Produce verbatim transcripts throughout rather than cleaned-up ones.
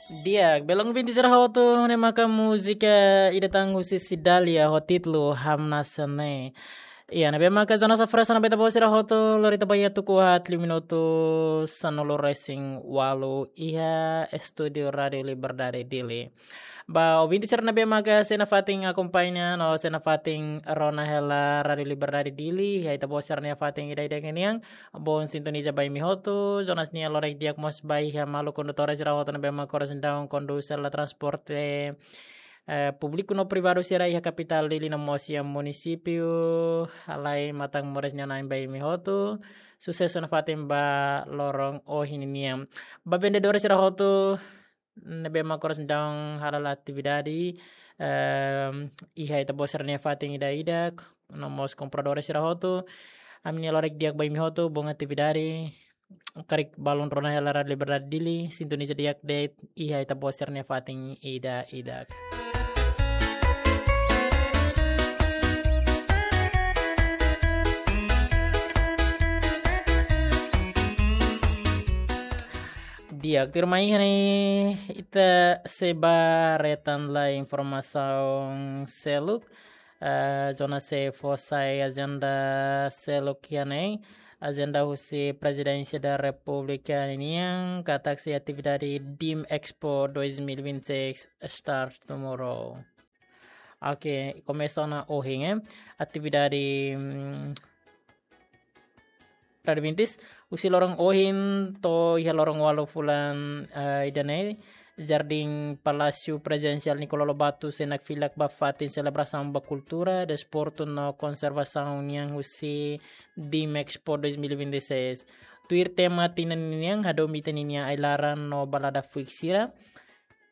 Di'ak, belun ouvinte sira hotu, ne'e maka múzika ida tan husi Cidália ho títulu Hamnasa ne'e. Iha ne'ebé maka Zona Safra sana beta bo sira hotu, lori ita ba iha tuku haat liu minutu sanulu resin ualu iha estúdiu Rádiu Liberdade Dili. Ba ouvinte sira ne'ebé maka sei nafatin akompaña no sei nafatin rona hela Rádiu Liberdade Dili, iha ita-boot sira-nia fatin ida-idak nian, bom sintoniza ba imi hotu, Jonas nia lorek di'ak mós ba iha maluk kondutór sira hotu ne'ebé maka oras ne'e daudaun kondús hela transporte, eh, públiku no privadu sira iha kapitál Dili no mós iha munisípiu, halai matan moris nia na'in ba imi hotu, susesu nafatin ba loron ohin nian. Ba vendedór sira hotu ne'ebé maka oras ne'e daudaun hala'o atividade, ehm, iha ita-boot sira-nia fatin ida-idak, no mós kompradór sira hotu, ami-nia lorek di'ak ba imi hotu, bom atividade, karik balun rona hela Rádiu Liberdade Dili, sintoniza di'ak de'it iha ita-boot sira-nia fatin ida-idak. Di'ak, tuirmai iha ne'e ita sei ba retan lai informasaun seluk. Eh, Jonas sei fó sai ajenda seluk iha ne'e. Ajenda husi Prezidénsia da Repúblika nian, katak sei atividade DIM Expo dois mil e vinte e seis start tomorrow. Oke, komesa ona ohin, eh. Atividade, mm, Radvintis, husi loron ohin to'o iha loron ualu fulan, eh, ida-ne'e, Jardín Palásiu Prezidensiál Nicolau Lobato sei nakfilak ba fatin selebrasaun ba kultura, desportu no konservasaun nian husi DIM Expo dois mil e vinte e seis. Tuir tema tinan ninian, hadomi ita-nia ai-laran no balada fuik sira,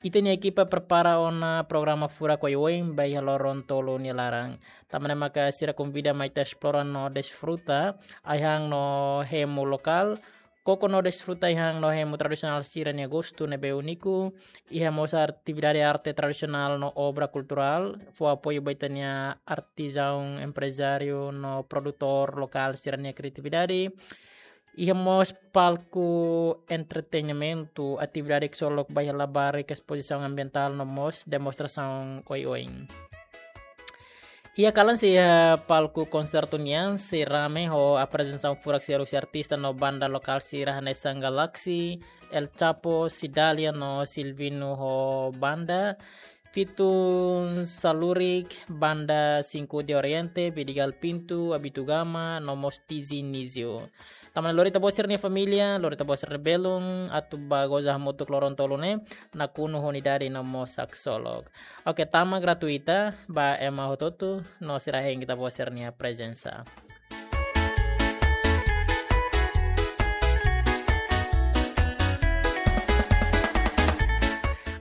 ita-nia ekipa prepara ona programa furak oioin ba iha loron tolu nia laran. Tanba ne'e maka sira konvida mai ita esplora no desfruta ai-han no hemu lokál, koko no desfruta ai-han no hemu tradisionál sira-nia gostu ne'ebé úniku, iha mós atividade arte tradisionál no obra kulturál, fó apoiu ba ita-nia artizaun, emprezáriu no produtór lokál sira-nia kriatividade. Iha mós palku entretenimentu, atividade ksolok ba iha labarik, espozisaun ambientál no mós demonstrasaun oioin. Iha kalan sei iha palku konsertu nian sei rame ho aprezentasaun furak sira husi artista no banda lokál sira hanesan Galaxy, El Chapo, Cidália no Silvino ho banda, Fitun Salurik, banda Cinco de Oriente, Vidigal Pinto, Abitugama, no mós Tizi Nizio. Tanba ne'e lori ita-boot sira-nia família, lori ita-boot sira-nia belun, atu ba goza hamutuk loron tolu ne'e, nakonu ho unidade no mós haksolok. Oke, tama gratuita, ba ema hotu-hotu, no sira hein ita-boot sira-nia prezensa.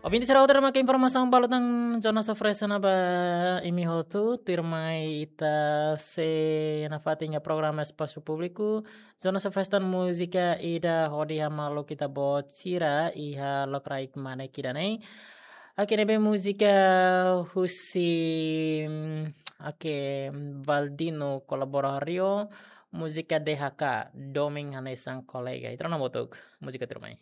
Ouvinte sira hotu, ne'e maka informasaun balu tan Zona Safra sana ba imi hotu, tuirmai ita sei nafatin iha programa Espasu Públiku, Zona Safra tan múzika ida hodi hamaluk ita-boot sira iha lokraik mane kida ne'e. Oke, ne'ebé múzika husi, mm, oke, Valdino Colaborario, múzika D H K, Domin Hanesan Kolega. Ita rona hamutuk múzika tuirmai.